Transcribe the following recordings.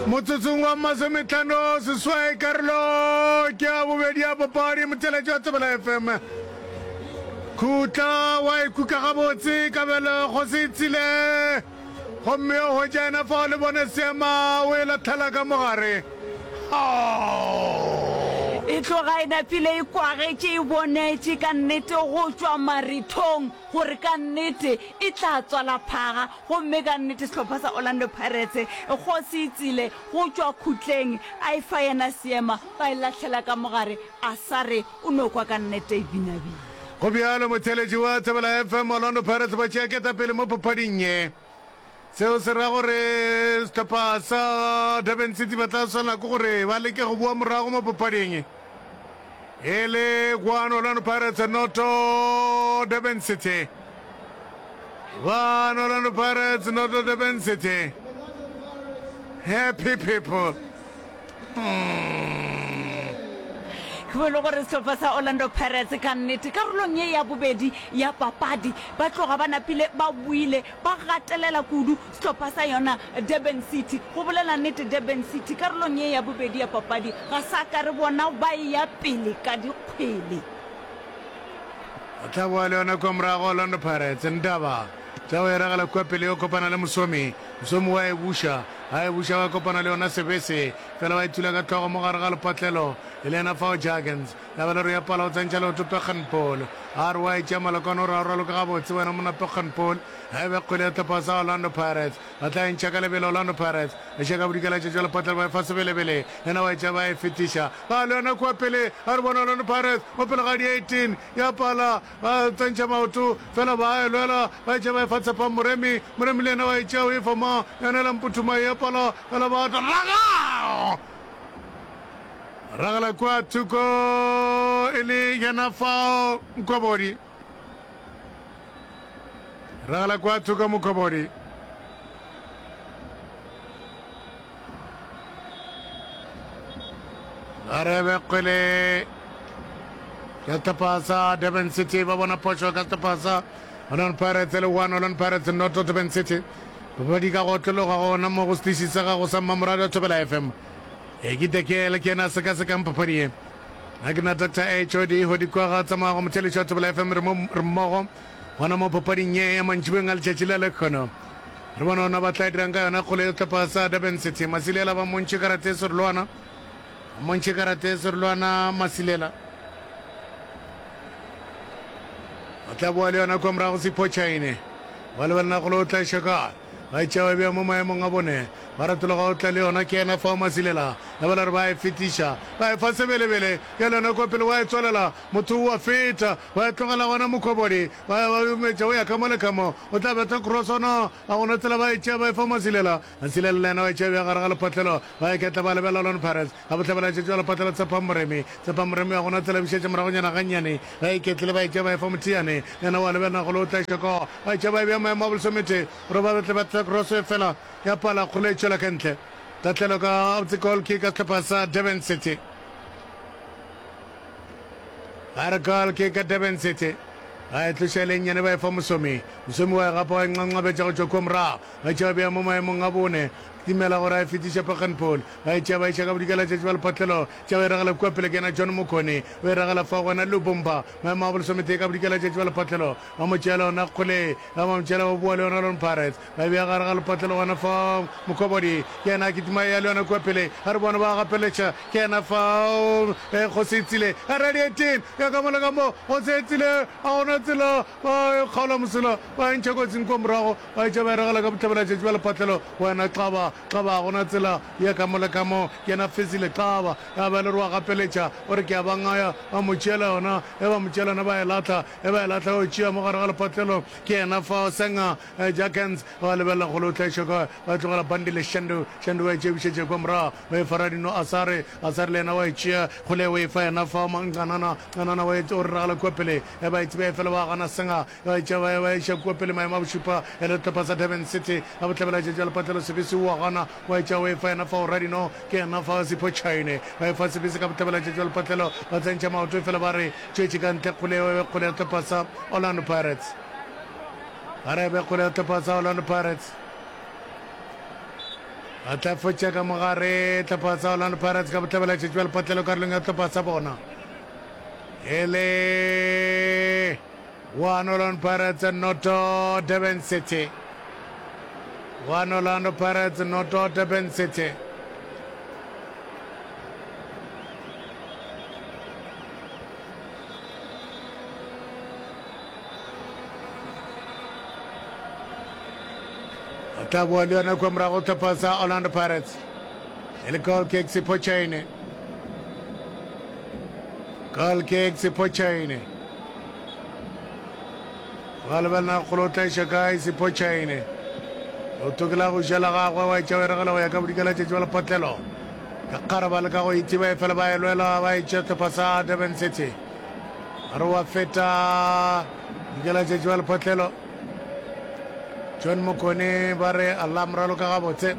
Motsotsong wa masometlhano seswai karolo ke ya bobedi ya papadi motheletši wa Thobela FM. Khutla wa ikuka gabotse Kabelo Kgositsile gomme o hwetša yena fao le bone seema o e latlhela ka mogare. Oh! E tloga e napile e kwagetše e bonetše ka nnete go tšwa marithong gore ka nnete e tla tswala phaga gomme ka nnete sehlopha sa Orlando Pirates kgosi e tsile go tšwa khutleng a e fa yena seema ba e lahlela ka mogare a sa re o no kwa ka nnete e binabina. Go bjalo motheeletši wa Thobela FM, Orlando Pirates ba tšea ketapele mo papading ye. Seo se ra gore sehlopha sa Durban City ba tla swanela ke gore ba leke go boa morago mo papading e le 1 Orlando Pirates noto Durban City. 1 Orlando Pirates noto Durban City. Happy people. Ke bone gore sehlopha sa Orlando Pirates ka nnete karolong ye ya bobedi ya papadi ba tloga ba napile ba boile ba gatelela kudu sehlopha sa yona Durban City. Go bolela nnete Durban City karolong ye ya bobedi ya papadi ga sa ka re bona ba eya pele ka dikgwele. O tla boa le yona kua morago Orlando Pirates. Ndaba tla o e ragela kua pele yo kopana le Mosomi. Mosomi wa e buša. A e buša wa kopana le yona Sebese. Fela wa e thula ka hlogo mo gare ga lepatlelo. E le yena fao Jurgens. Ya ba le re ya pala o tsentšha leoto Pechenpool. A re wa e tšea Malokwane o re a o raloke gabotse wena monna Pechenpool. A e be kgwele ya sehlopha sa Orlando Pirates. Ba tla e ntšha ka lebelo Orlando Pirates. E še ka bodikela tša tšwa lepatlelo ba e fa Sebelebele. Yena wa e tšea ba e fetiša. Ba le yona kua pele. A re bona Orlando Pirates mo pele ga di 18. Ya pala. Ba tsentšha maoto, fela ba e lwela, ba e tšea ba e fa Tshepang Moremi, Moremi le yena wa e tšea o e fa ma, yona la Mputhuma e pala, fela ba tla raga! Ragela kua thoko e le yena fao Mkhobodi. Ragela kua thoko Mkhobodi. Garebe kgwele ya sehlopha sa Durban City ba bona phošo ka sehlopha sa Orlando Pirates le 1 Orlando Pirates noto Durban City. Papadi ka go otlologa gona mo go setiši sa gago sa mmamoratwa Thobela FM. E ke Dekele ke yena a sekasekang papadi ye. Nna ke nna Doctor HOD Hodi kwa ga tsamaya go motheletši wa Thobela FM re mo re mmogo gona mo papading ye ya mantšiboeng a letšatši la lekgono. Re bone ona ba tla dirang ka yona kgolo ya sehlopha sa Durban City. Masilela ba montšhe karate e serolwana. Montšhe karate e serolwana Masilela. O tla boa le yona kwa morago Sipho Chaine. Ba lebelela kgolo o tla iša kae. Ba e tšea ba bea mo maemong a bone. Ba retologa o tla le yona ke yena fao Masilela. Ya ba la re ba e fetiša. Ba e fa Sebelebele. Ya le yona kwa pele wa e tswalela. Motho o a feta. Ba e tlogela gona Mokhobodi. Ba ya ba metša o ya ka mo le ka mo. O tla betha krosona. Ga gona tsela ba e tšea ba e fa Masilela. Masilela le yena wa e tšea bja gare ga lephatlelo. Ba iketla ba lebelela Orlando Pirates. Ga bohlabela tšetšo ya lephatlelo Tshepang Moremi. Tshepang Moremi ga gona tsela bušetša moragonyana gannyane. Ba iketlile ba e tšea ba e fa Mothiane. Le yena wa lebelela golo o tla iša koo. Ba e tšea ba e bea maemo a bolesomete gore ba tle ba tle kroso efela ya pala kgole e tšwela ka ntle. Tahlelo ka gabotse goal kick ka sehlopha sa Durban City. Ba re goal kick ka Durban City. Ba e tloša e le nnyane ba e fa Mosomi. Mosomi wa e gapa wa e nqanqabetša go tšwa kua morago. Ba e tšea ba bea mo maemong a bone. Kitimela gore a e fetiše Packenpool. Ba e tšea ba iša ka bodikela tšatši ba lephatlelo. Tšea ba e ragela kua pele ke yena John Mokone. O e ragela fao gona Lubumba. Maemo a bolesometee ka bodikela tšatši ba lephatlelo. Ba mo tšeela yona kgole. Ba mo tšeela ba boa le yona Lone Pirates. Ba e bea gare ga lephatlelo gona fao. Mokobodi ke yena a kitima a eya le yona kua pele. A re bona ba gapeletša. Ke yena fao. Kgosetsile a radiating ya ka mo le ka mo. Kgosetsile a gona tsela. Ba e kgaola mosela ba e ntšha kotsing kua morago. Ba etša ba e ragela ka bohlabela-tšatši bja lepatlelo. Wena Xaba, Xaba, ga go na tsela ya ka mo le ka mo. Ke yena Fezile Xaba. Ya ba e le gore wa gapeletša, o re ke a ba ngaya. Ba mo tšeela yona. Ge ba mo tšeela yona ba e lahla. Ge ba e lahla o e tšea mo gare ga lepatlelo. Ke yena fao Senga Jakens. Ba lebelela kgole o tlaišwa kae. Ba tlogela Bandile Shandu. Shandu wa e tšea bušetša kua morago. Ba e fa Radino Asare. Asare le yena wa e tšea. Kgole o e fa yena fao Ncanana. Ncanana wa e o re ragela kua pele. Ge ba e tseba efela ba gana Senga. Ba etša ba ba iša kua pele maemo a bošupa e le sehlopha sa Durban City. Ka bohlabela tšatši la lepatlelo Sebisi o a gana wa etša o efa yena fao Radino ke yena fa Sipho Chaine ba efa Sebisi ka bohlabela tšatši la lepatlelo ba tsentšha maoto efela ba re tšwetše ka ntle kgole e be kgole ya sehlopha sa Orlando Pirates. Ba re e be kgole ya sehlopha sa Orlando Pirates. Ba tla fotša ka mogare tlhopha sa Orlando Pirates ka bohlabela tšatši ba lepotlelo karolong ya tlhopha sa bona. E le 1 Orlando Pirates noto Durban City. 1 Orlando Pirates noto Durban City. A tla boa le yona kua morago tlhopha sa Orlando Pirates. E le goal kick Sipho Chaine. Goal kick Sipho Chaine. Ba lebelela kgolo o tla iša kae Sipho Chaine. O tokela go ja la gagwe wa etša o e regela go ya ka bodikela tšatši ba lepotlelo. Ka kgare ba leka go ithiba e fela ba e lwela ba etša tlhopha sa Durban City. A re wa feta bodikela tšatši ba lepotlelo. John Mokone ba re Allah moralo ka gabotse.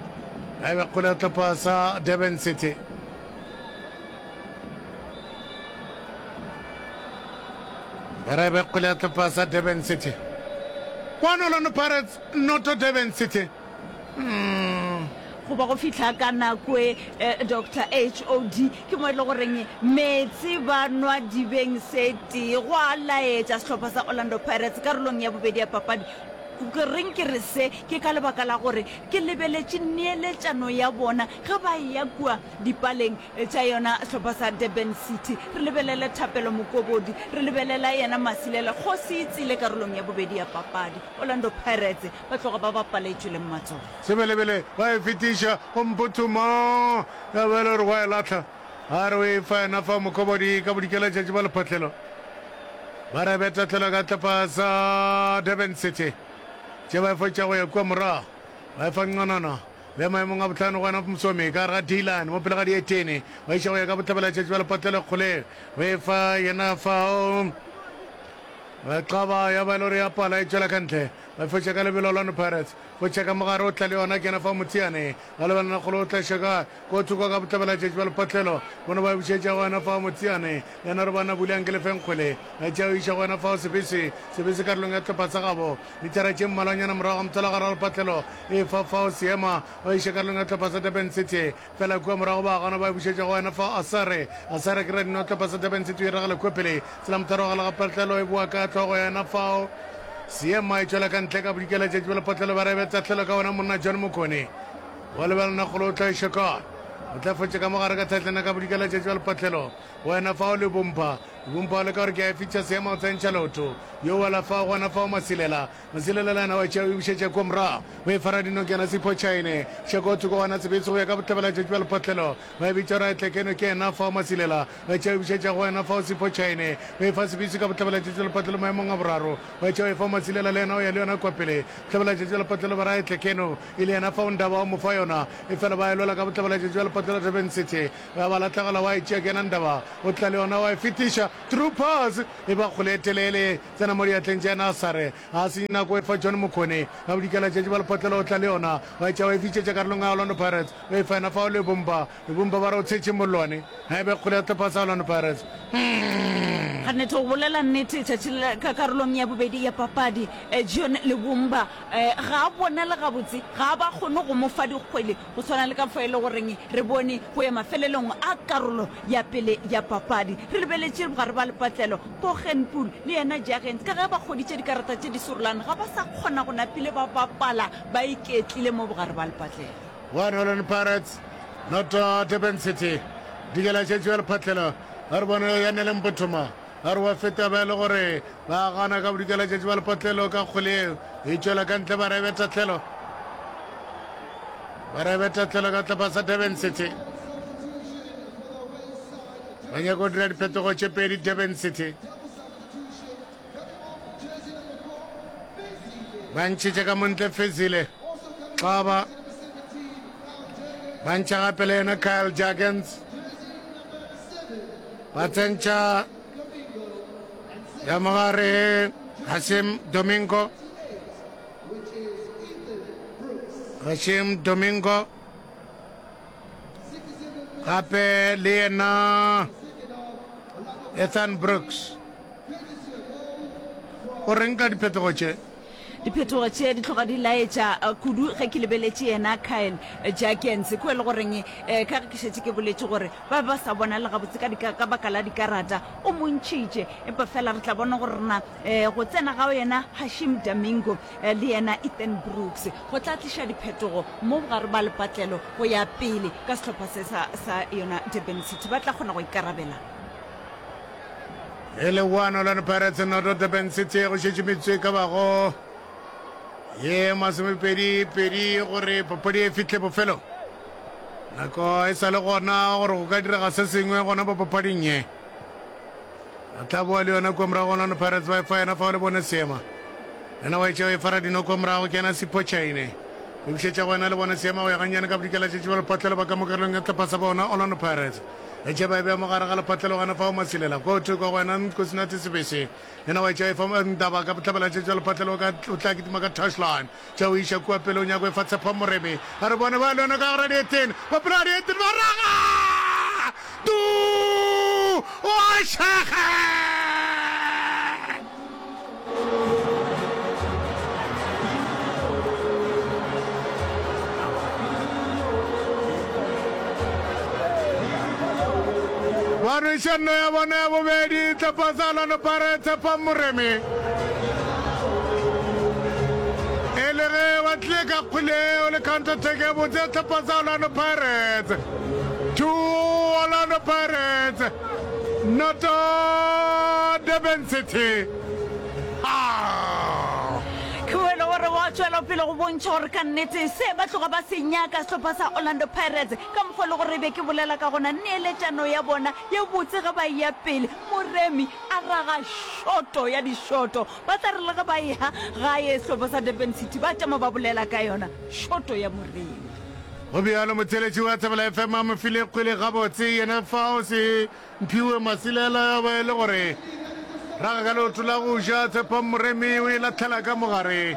A e be kgole ya tlhopha sa Durban City. Ba re be kgole ya tlhopha sa Durban City. Kwano Orlando Pirates noto Durban City. Mm. Go ba go fihla ka nako e, eh, Doctor HOD, ke mo e le goreng meetse ba nwa dibeng se tee, go a laetša sehlopha sa Orlando Pirates karolong ya bobedi ya papadi. Ke reng ke re se? Ke ka lebaka la gore ke lebeletše neeletšano ya bona ge ba eya kua dipaleng tša yona sehlopha sa Durban City. Re lebelele Thapelo Mokobodi, re lebelela yena Masilela, kgosi e tsile karolong ya bobedi ya papadi. Orlando Pirates ba tloga ba bapaletšwe le matsogo. Sebelebele ba e fetiša go Mputhuma, ya ba e le gore wa e lahla. A re o e fa yena fa Mokobodi ka bodikela tšatši ba lephatlelo. Ba re be tahlelo ka tlapa sa Durban City. Tše ba e fotša go ya kua morago. Ba e fa Nqonana. Bea maemong a bohlano go yena Msomi ka gare ga D-line mo pele ga dietene. Ba iša go ya ka bohlabela tšatši ba lephatlelo kgole. O e fa yena fao. Qaba ya ba e le gore ya pala e tšwela ka ntle. Ba fetša ka lebelo Orlando Pirates. Fotša ka mogare o tla le yona ke yena fa Motsiane. Ba lebelana kgolo o tla šeka ko thoko ka bohlabela tšatši ba lepatlelo. Bono ba bušetša go yena fa Motsiane. Yena re bona Bulang ke lefeng kgwele. Ba tšea o iša go yena fao Sebese. Sebese karolong ya tlhopha sa gabo. Mithara tše mmalwanyana morago ga mothala gare ga lepatlelo. E fa fao Seema. Ba iša karolong ya tlhopha sa Durban City. Fela kua morago ba gana ba e bušetša go wena fa Asare. Asare ke radino tlhopha sa Durban City o e ragela kua pele. Tsela motharo gala ga patlelo e boa ka hlogo ya yena fao. Seema e tšwela ka ntle ka bodikela tšatši ba lepatlelo ba rebe tahlelo ka wena monna John Mokone. Wa lebelana kgolo o tla iša kae? O tla fotša ka mogare ka thatlena ka bodikela tšatši ba lepatlelo. Go wena fao Lebompa. Lebompa o leka gore ke a e fitša Seema o tsentšha leoto. Yo wela fao gona fao Masilela. Masilela le yena wa tšea o e bušetša kua morago. O e fara dinokana Sipho Chaine. Šeko thoko gona Sebetso go ya ka bohlabela tšatši bja lepotlelo. Ba e bitša gore a tle keno ke yena fao Masilela. Wa tšea o e bušetša go wena fao Sipho Chaine. O e fa Sebetso ka bohlabela tšatši bja lepotlelo maemong a boraro. Wa tšea o e fa Masilela le yena o ya le yona kua pele. Bohlabela tšatši bja lepotlelo ba re a tle keno e le yena fao Ndaba o mo fa yona. Efela ba e lwela ka bohlabela tšatši bja lepotlelo Durban City. Ba ba lahlegela wa e tšea ke yena Ndaba o tla le yona wa e fetiša. Through pass e ba kgole e telele. Tsena mo diatleng tša yena Asare. A senye nako e fa John Mokone. Ka bodikela tšatši ba lephotlelo o tla le yona. Wa e tšea wa e fitšetša karolong ya Orlando Pirates. O e fa yena fao Lebomba. Lebomba ba re o tshetše mollwane. A e be kgole ya sehlopha sa Orlando Pirates. Ga nnete go bolela nnete tšatši le ka karolong ya bobedi ya papadi John Lebomba ga a bonale gabotse, ga a ba kgone go mo fa dikgwele go swana le ka fao e le goreng re bone go ya mafelelong a karolo ya pele ya papadi. Re lebeletše bogare ba lepatlelo, Poggenpoel le yena Jurgens ka ge ba kgoditše dikarata tše di sorolane ga ba sa kgona go napile ba bapala ba iketlile mo bogare ba lepatlelo. One Orlando Pirates noto Durban City. Dikela tše tšwa lephatlelo a re bone ya Nele Mpothoma a re wa feta ba e le gore ba gana ka bodikela tšatši ba lepatlelo ka kgwele eo e tšwela ka ntle ba rebe tahlelo ba rebe tahlelo ka tlapa sa Durban City ba nyaka go dira diphetogo tše pedi Durban City ba ntšhetše ka montle Fezile Xaba ba ntšha gape le yena Kyle Jurgens ba tsentšha ya mogare Hashim Domingo Hashim Domingo gape le yena Ethan Brooks. O reng ka diphetogo tše? Diphetogo tše di tloga di laetša kudu ge ke lebeletše yena Kyle Jurgens, ko e le goreng ka ge ke šetše ke boletše gore ba be ba sa bonale gabotse ka dika ka baka la dikarata, o mo ntšhitše. Empa fela re tla bona gore na go tsena ga yena Haashim Domingo le yena Ethan Brooks go tla tliša diphetogo mo bogare ba lepatlelo go ya pele ka sehlopha se sa sa yona Durban City ba tla kgona go ikarabela. E le 1 Orlando Pirates noto Durban City go šetše metsotso e ka bago ye masomepedi-pedi gore papadi e fihle bofelong. Nako e sa le gona gore go ka direga se sengwe gona mo papading ye. A tla boa le yona kua morago Orlando Pirates ba e fa yena fao le bone seema. Yena wa etša o e fara dino kua morago ke yena Sipho Chaine. O bušetša go yena le bone seema go ya gannyane ka bodikela tšetše ba lepatlelo ba ka mo karolong ya tlhopha sa bona Orlando Pirates. Etša ba e bea mo gare ga lepatlelo gona fao Masilela. Ko thoko go yena Nkosinathi Sebese. Yena wa etša e fa Ndaba ka bohlabela tšetše ba lepatlelo ka o tla kitima ka touchline. Tša o iša kua pele o nyako e fa Tshepo Moremi. A re bone ba le yona ka gara dieteng. Ba pela dieteng ba raga! Tu! O a šege! Ba nweša nno ya bona ya bobedi tlapa sa Orlando Pirates Tshepo Moremi. E le ge ba tlile ka kgwele eo le counter attack ya botse ya tlhopha sa Orlando Pirates. 2 Orlando Pirates noto Durban City. Ah! Ke mo e le gore ba tšwela pele go bontšha gore ka nnete se ba tloga ba se nyaka sehlopha sa Orlando Pirates ka mokgwa e le gore e be ke bolela ka gona neeletšano ya bona ye botse ge ba eya pele Moremi a raga šoto ya dišoto. Ba tla re le ge ba eya gae sehlopha sa Durban City ba tšama ba bolela ka yona šoto ya Moremi. Go bjalo, motheeletši wa Thobela FM a mo file kgwele gabotse, yena fao se Mphiwe Masilela ya ba e le gore raga ka leoto la go ja. Tshepang Moremi o e lahlela ka mogare.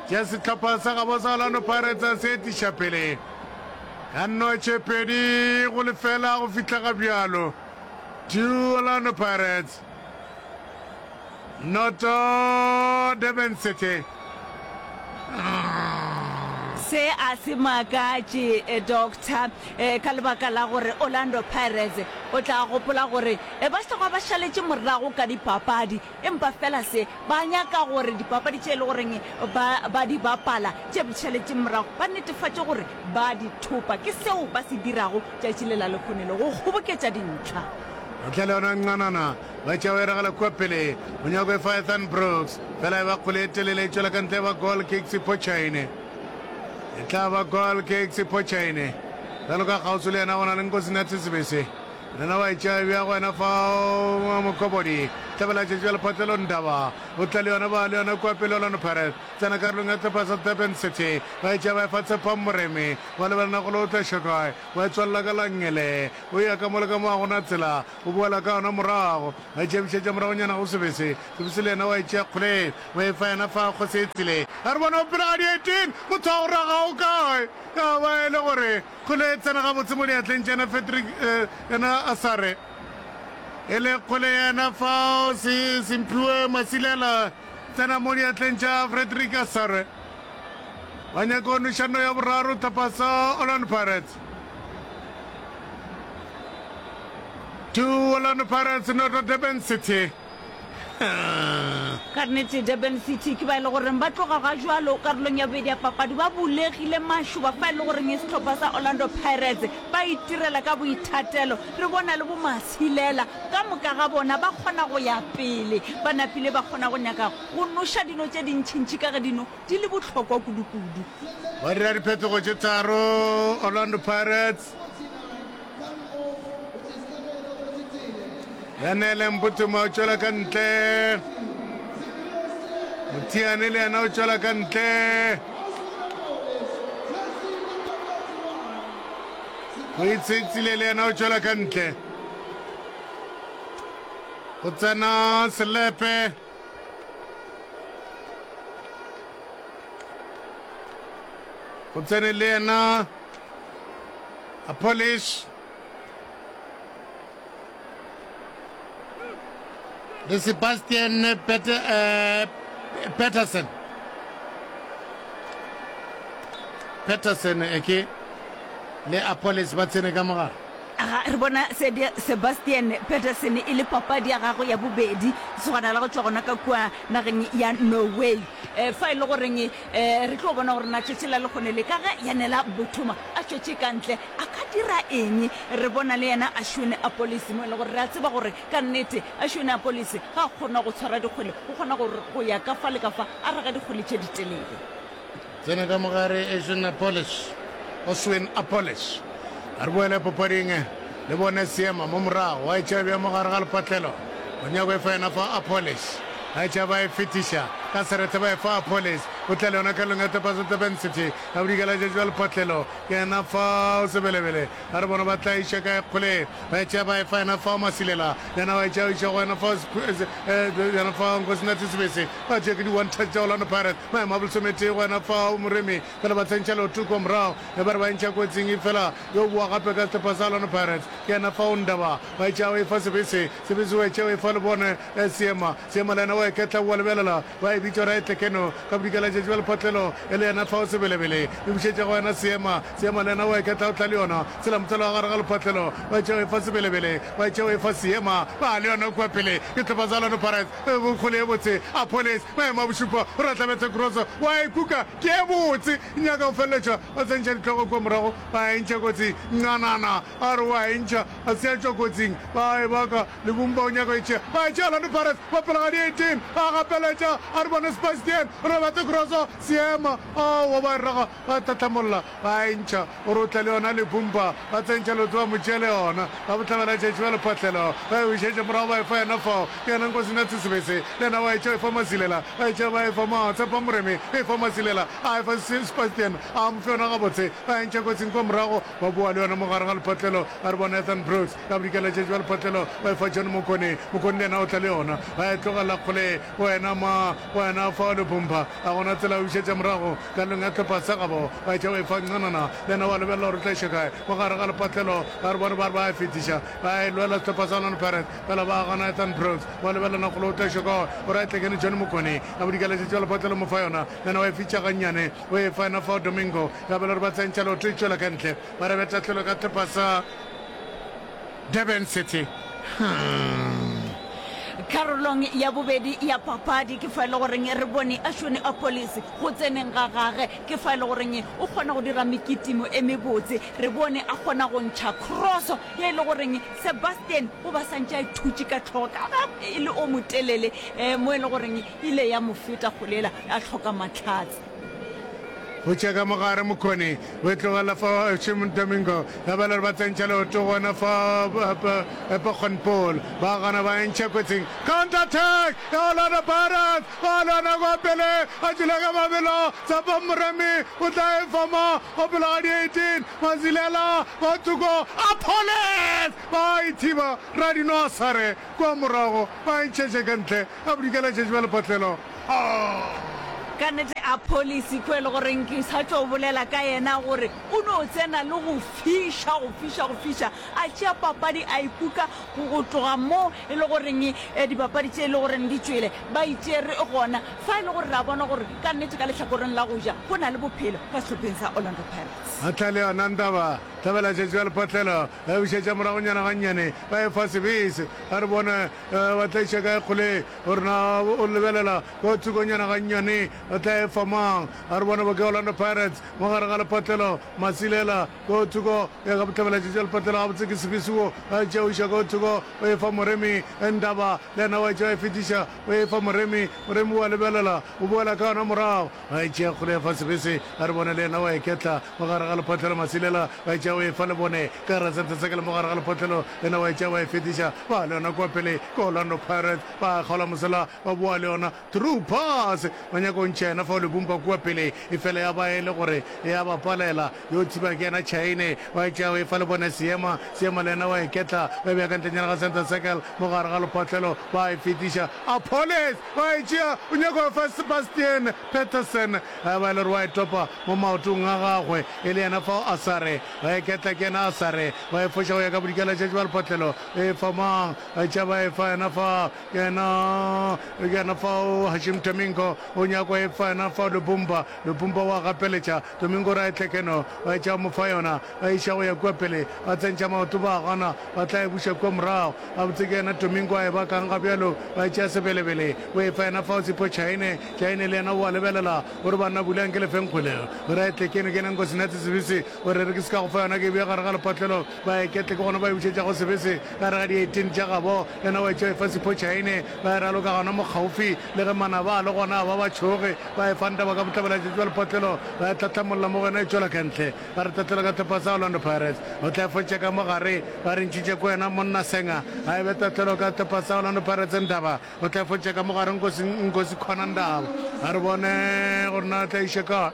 Tša sehlopha sa gabo sa Orlando Pirates a se etiša pele ka notše 2-0 go fihla ga bjalo. 2 Orlando Pirates noto Durban City. Se a se makatše, Doctor, ka lebaka la gore Orlando Pirates o tla gopola gore ba hloka ba šaletše morago ka dipapadi, empa fela se ba nyaka gore dipapadi tše e le goreng ba ba di bapala tše šaletšeng morago ba netefatše gore ba di thopa. Ke seo ba se dirago tšatši le la lehono le go kgoboketša dintlha. Ntle le yona nqanana, ba tšea o e ragela kua pele. O nyako e fa Ethan Brooks, fela e ba kgwele e telele e tšwela ka ntle e ba goal kick Sipho Chaine. E tla ba goal kick Sipho Chaine. Bjalo ka kgauswi le yena go na le Nkosinathi Sibisi. Yena wa e tšea e bea go yena fao Mokobodi. Hlabela tšatši bja lephatlelo Ndaba. O tla le yona ba le yona kua pele Orlando Pirates. Tsena karolong ya sehlopha sa Durban City. Ba e tšea ba e fa Tshepang Moremi. Wa lebelela gore o tla iša kae. Wa e tswalela ka la nngele. O ya ka mo le ka mo ga go na tsela. O boela ka yona morago. Wa e tšebišetša moragonyana go Sebese. Sebese le yena wa e tšea kgoleng. Wa e fa yena fa Kgosetsile. A re bona o pele ga di 18. Motho wa go raga o kae? Ya ba e le gore kgole e tsena gabotse mo diatleng tša yena Frederick yena Asare. E le kgole yena fao Simphiwe Masilela tsena mo diatleng tša Frederick Asare. Ba nyaka go noša no ya boraro tlhopha sa Orlando Pirates. 2 Orlando Pirates noto Durban City. Ka nnete Durban City ke ba e le goreng ba tloga ga jwalo karolong ya bobedi ya papadi ba bulegile mašoba fa e le goreng sehlopha sa Orlando Pirates ba itirela ka boithatelo. Re bona le bo Masilela ka moka ga bona ba kgona go ya pele ba napile ba kgona go nyaka go noša dino tše dintšintši ka ge dino di le bohlokwa kudukudu. Ba dira diphetogo tše tharo Orlando Pirates. Yanele Mphuthuma o tšwela ka ntle. Mothiane le yena o tšwela ka ntle. Moitshetsile le yena o tšwela ka ntle. Go tsena Selepe. Go tsene le yena Polish le Sebastian Peterson. Peterson eke le Appollis ba tsene ka mogare. Ga re bona Sebastian Peterson e le papadi ya gagwe ya bobedi, lesogana la go tšwa gona ka kua nageng ya Norway. Fa e le goreng re tlo bona gore na tšatši la lekgone le ka ge Yanela Mbuthuma a tšwetše ka ntle a ka dira eng. Re bona le yena Ashwin Appollis mo e le gore re a tseba gore ka nnete Ashwin Appollis ga a kgona go tshwara dikgwele, o kgona go ya ka fa le ka fa a raga dikgwele tše ditelele. Tsena ka mogare Oswin Appollis. Oswin Appollis. A re boele papading le bone seema mo morago. Wa e tšea bja mo gare ga lepatlelo. O nyako e fa yena fa Appollis. A e tšea ba e fetiša ka serethe ba e fa Appollis. O tla le yona karolong ya Tepasa Durban City. Ka bodikela tša tšwa lepatlelo. Ke yena fa o Sebelebele. A re bona ba tla iša kae kgole. Ba e tšea ba e fa yena fa Masilela. Yena wa e tšea o iša go yena fa yena fa Nkosinathi Sibisi. Ba tšea ke di one touch tša Orlando Pirates. Maemo a bolesometee go yena fao Moremi fela ba tsentšha leoto kua morago ge ba re ba ntšha kotsing efela yo boa gape ka sehlopha sa Orlando Pirates ke yena fao Ndaba wa etša o efa Sebese, Sebese wa etša o efa Lebone Seema, Seema le yena wa eketla oa lebelela ba e bitša gore a etle keno ka bodikela tšatši ba lephotlelo e le yena fao Sebelebele e bušetša go yena Seema, Seema le yena wa eketla o tla le yona tsela motsela wa gare ga lephotlelo wa etša o efa Sebelebele wa etša o efa Seema ba le yona kua pele ke sehlopha sa Orlando Pirates Kgole ye botse, Appollis, maemo a bošupa, o re tlabetše kroso, wa e kuka, ke ye botse, e nyaka go feleletšwa, ba tsentšha dihlogo kua morago, ba e ntšha kotsing, Ncanana a re wa e ntšha, a se a tšwa kotsing, ba e baka, Lebumba o nyaka go e tšea, ba e tšea, Orlando Pirates ba pele ga di 18, ba gapeletša, a re bone Sebastian, o re bate kroso, Seema, aowa, ba e raga, ba tlhatlhamolla, ba e ntšha, o re o tla le yona Lebumba, ba tsentšha leoto ba mo tšea le yona, ba bohlabela tšatši ba lephahlelo, ba e bušetša morago ba e fa yena fao, ke yena Nkosinathi Sebese, le yena wa e tšea o e fa Masilela, ba e tšea ba e fa Matshepa Moremi, o e fa Masilela, a e fa Sebastian, a mo fe yona gabotse, ba e ntšha kotsing kwa morago, ba boa le yona mo gare ga lephahlelo, ba re bona Ethan Brooks, ka bodikela tšatši ba lephahlelo, ba e fa John Mokone, Mokone le yena o tla le yona, ba e tlogela kgole, wena ma, wena fao Lebumba, ga gona tsela ya go bušetša morago. Karolong ya hlopha sa gabo, ba etša o efa ncanana, le yena wa lebelela gore o tla iša kae. Mo gare ga lepatlelo, ba re bone ba re ba a fetiša, ba e lwela sehlopha sa Orlando Pirates, fela ba gana Ethan Brooks. Wa lebelela kgole o tla iša kae, o re a tlekene Johnny Mokone, a bodikaletše tša lepatlelo mo fa yona, le yena wa e fitša gannyane, o e fa yena fao Domingo, ya bela gore ba tsentšha leoto e tšwela ka ntle, ba re betahlelo ka hlopha sa Durban City. Karolong ya bobedi ya papadi ke fa e le goreng re bone Ashwini Appollis go tseneng ga gage, ke fa e le goreng o kgona go dira mekitimo e mebotse. Re bone a kgona go ntšha cross ye e le goreng Sebastian o ba santše a e thutše ka hlogo ka ge e le o motelele mo e le goreng ile ya mo feta kgole yela a hloka mahlatse. Go tšea ka mogare Mokgoni o e tlogela fa Shimon Domingo ya ba le gore ba tsentšha leoto gona fa Pokgonpol ba gana ba e ntšha kotsing. Counter attack ya Orlando Pirates ba lwana kwa pele a tšwele ka mabelo Tshepo Moremi o tla e fa ma o pele ga di 18 Mazilela ba thoko Appollis ba e thiba Radino Asare kwa morago ba e ntšhetše ka ntle a bodikela tšatši ba lephatlelo. Ka nnete a policy ko e le goreng ke sa tšo bolela ka yena gore o no tsena le go fiša, go fiša, go fiša, a tšea papadi a e kuka go tloga mo e le goreng dipapadi tše e le goreng di tšwele ba e tšere gona fa e le gore re a bona gore ka nnete ka lehlakoreng la go ja go na le bophelo ka sehlopheng sa Orlando Pirates. A tla le yona Ndaba, hlabela tšatši ba lephatlelo, ba e bušetša moragonyana gannyane, ba e fa Sebese, a re bone ba tla iša kae kgole. Gore na o lebelela ka thokonyana gannyane, o tla e fa mang? A re bone boke Orlando Pirates mo gare ga lepatlelo. Masilela ko thoko ya ka bohlabela tša lepatlelo gabotse ke Sibisiwo a tšea o iša ko thoko o e fa Moremi Ndaba le yena wa e tšea e fetiša o e fa Moremi. Moremi wa lebelela o boela ka yona morago a e tšea kgole ya fa Sebese a re bone le yena wa e ketla mo gare ga lepatlelo. Masilela wa e tšea o e fa Lebone ka gare ga sente sa kele mo gare ga lepatlelo le yena wa e tšea wa e fetiša ba le yona kua pele ke Orlando Pirates ba kgaola mosela ba boa le yona through pass ba nyaka go ntšha yena fao Lebumba kua pele efela ya ba e le gore ya ba palela yo thiba ke yena Chaine wa e tšea o e fa Lebone Seema Seema le yena wa e ketla ba e bea ka ntlenyana ga center circle mo gare ga lephatlelo ba e fetiša Appollis wa e tšea o nyaka go fa Sebastian Petersen ba e le gore wa e topa mo maotong a gagwe e le yena fao Asare. iketla ke yena Asare, ba e foša go ya ka bodikela tšatši ba lepotlelo, e fa mang? Ba tšea ba e fa yena fa, ke yena, ke yena fao Hashim Domingo, o nyakwa e fa yena fao Lubumba, Lubumba wa gapeletša, Domingo ra e tlekeno, ba tšea mo fa yona, ba iša go ya kua pele, ba tsentšha maoto ba gana, ba tla e buša kua morago. Gabotse ke yena Domingo a e bakang ga bjalo, ba tšea sebelebele, o e fa yena fao Sipho Chaine, Chaine le yena o a lebelela, o re banna bulang ke le feng kgwele, o re a e tlekeno ke yena Nkosinathi Sebese, o re re ke se ka go fa yona ke e bea gare ga lepatlelo, ba e ketle ke gona ba e bušetša go Sebese ka gare ga di 18 tša gabo, yena wa e tšea o e fa Sipho Chaine, ba e raloka gona mo kgaufi le ge manaba a le gona a ba ba tšhoge, ba e fa Ntaba ka bohlabela-tšatši bja lepatlelo, ba e hlahlamolla mo go yena e tšwela ka ntle. Ba re tatela ka hlopha sa Orlando Pirates. O tla fotša ka mo gare. Ba re ntšhitše ko yena monna Senga. A e be tatlelo ka hlopha sa Orlando Pirates Ndaba. O tla fotša ka mo gare Nkosi Nkosi Khona Ndaba. A re bone gore na tla iša kae.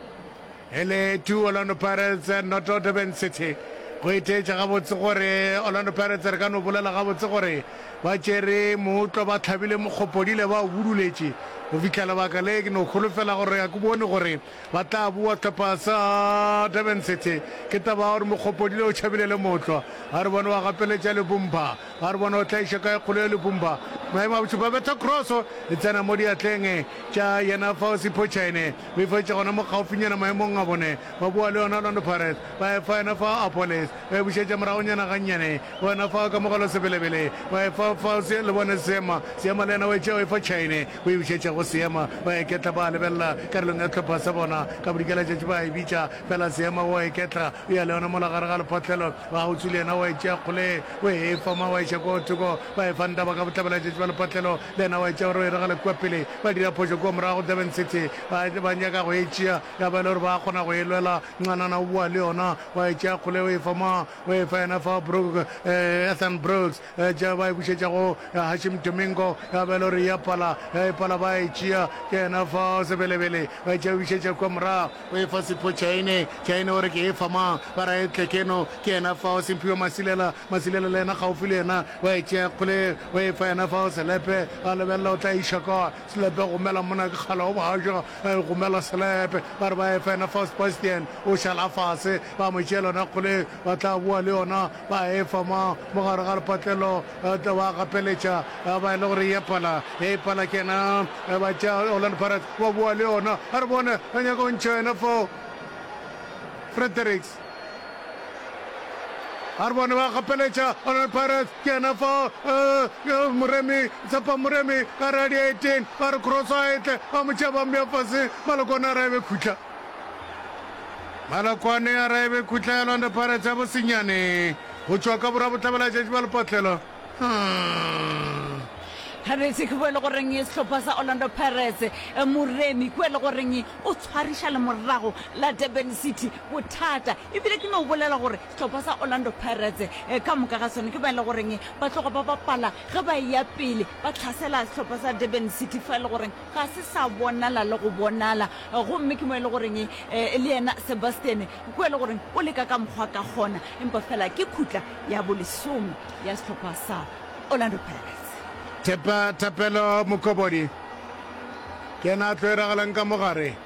E le 2 Orlando Pirates noto Durban City. Go itheetša gabotse gore Orlando Pirates re ka no bolela gabotse gore ba tšere mootlwa ba hlabile mokgopodile ba o buduletše go fihla lebaka le ke no holofela gore a ke bone gore Ba tla boa hlopha sa Durban City. Ke taba ya gore Mokgopodile o tšhabile le mootlwa. Ga re bone wa gapeletša Lebumba. Ga re bone o tla iša kae kgolo ya Lebumba. Maemo a bošupa betha kroso e tsena mo diatleng tša yena fao Sipho Chaine. O e fetša gona mo kgaufinyana maemong a bone. Ba boa le yona Orlando Pirates. Ba e fa yena fao Appollis. Ba e bušetša moragonyana gannyane. Go yena fao Kamogelo Sebelebele. Ba e fa fao Lebone Seema. Seema le yena o e tšea o e fa Chaine. O e bušetša go Seema. Ba iketla ba lebelela karolong ya hlopha sa bona. Ka bodikelatšatši ba e bitša. Fela Seema o a iketla. O ya le yona mola gare ga lephotlelo. Ba gautswi le yena o a e tšea kgole. O e foma wa iša kua thoko. Ba e fa Ndaba ka bohlabelatšatši bja lephotlelo. Le yena o a e tšea gore o e ragele kua pele. Ba dira phošo kua morago Durban City. Ba, ba nyaka go e tšea. Ya ba e le gore ba kgona go e lwela. Ncanana o boa le yona. Wa e tšea kgole o e fa mang? O e fa yena fa Brooks, eh, Ethan Brooks. Tša ba e bušetša go Hashim Domingo, ya ba e le gore ya pala, ya e pala ba e tšea, ke yena fa Sebelebele, ba e tšea bušetša kua morago, o e fa Sipho Chaine, Chaine o re ke e fa mang, ba ra e tle keno, ke yena fao Simphiwe Masilela, Masilela le yena gaufi le yena, wa e tšea kgole, o e fa yena fao Selepe, a lebelela o tla iša kae, Selepe gomela mona ke kgale o ba ja, gomela Selepe, ba re ba e fa yena fao Sebastian, o šala fase, ba mo tšeela yona kgole, ba tla boa le yona. Ba e fa mo, mo gare ga lepatlelo, tla ba gapeletša, ba e le gore e pala, e pala ke yena, ba tšea Orlando Pirates, ba boa le yona. A re bone, ba nyaka go ntšha yena fao, Fredericks. A re bone, ba gapeletša Orlando Pirates, ke yena fao, Moremi, Tshepa Moremi, ka re a di 18, ba re cross a e tle, ba mo tšea ba mmea fase, Malokwane a re a e be khutla. Malokwane a re ebe khutla ya Orlando Pirates ya bosenyane go tšwa ka borwa bohlabela-tšatši bja lepatlelo. Hmm. Gabetse ke boe le goreng sehlopha sa Orlando Pirates eh, Moremi kua le goreng o tshwariša le morago la Durban City bothata ebile ke no bolela gore sehlopha sa Orlando Pirates eh, ka moka ga sone ke ba e le goreng ba tloga ba bapala ge ba eya pele ba tlhasela sehlopha sa Durban City fa e le goreng Ga se sa bonala le go bonala. Gomme ke mo e le goreng le yena Sebastian kua e le goreng o leka ka mokgwa ka kgona, empa fela ke khutla ya bolesome ya sehlopha sa Orlando Pirates. Thepa Thapelo Mokobodi ke yena a tlo e ragalang ka mo gare.